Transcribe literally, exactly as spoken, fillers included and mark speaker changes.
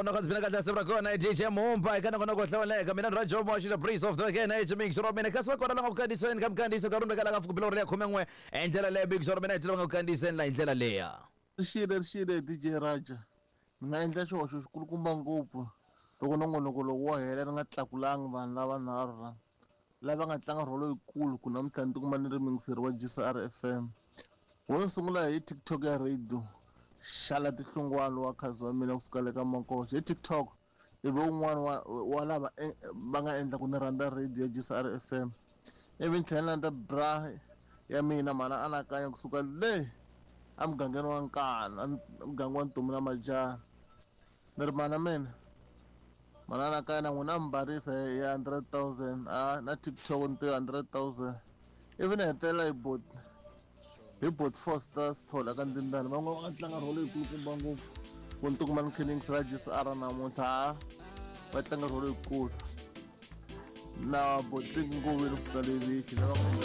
Speaker 1: Nongonoko ndzi pfuna kahle siku ra kona D J Mumba eka nongonoko hlawuleka. Mina ni Rajo Moxi, the breeze of the weekend, H mix ra mina. Kasi va kona la nga ku kandziyiseni ka mikandziyiso ka rhumbe ka la ka fukubilo ri ya khumen'we hi ndlela leya. Mix ra mina hi va nga ku kandziyiseni la hi ndlela leya.
Speaker 2: Rixile, rixile, D J Raja. Ni nga endla xihoxo xikulukumba ngopfu loko nongonoko lowu wo hela ni nga tlakulangi vanhu lava nharhu la lava nga tlanga rholo yikulu ku namuntlha ni tikuma ni ri muyingiseri wa G C R F M. Wo ni sungula hi TikTok ya radio, Xala Tihlungwalo wa khazi wa mina kusuka le ka Makoxa hi TikTok, ivi un'wana wa wa lava eh, va nga endla ku ni rhandza radio ya G C R F M. Ivi ni tlhela ni landza bra ya mina, mana anakanya kusuka le emugangeni wa Nkana, muganga wa Ntomi na Majaha. Ni ri mana mina, mana anakanya na n'wina mi barisa hi hundred thousand a na TikTok ni tiva hundred thousand. Ivi ni hetelela hi bot hi bot Foster Sithole ka Ndindani. Van'wana va nga tlanga rholo yikulukumba ngopfu ku ni tikuma ni kha ni yingisela G C R namuntlha. Ha va tlanga rholo yikulu na botiki ngoveni kusuka le viki lava nga.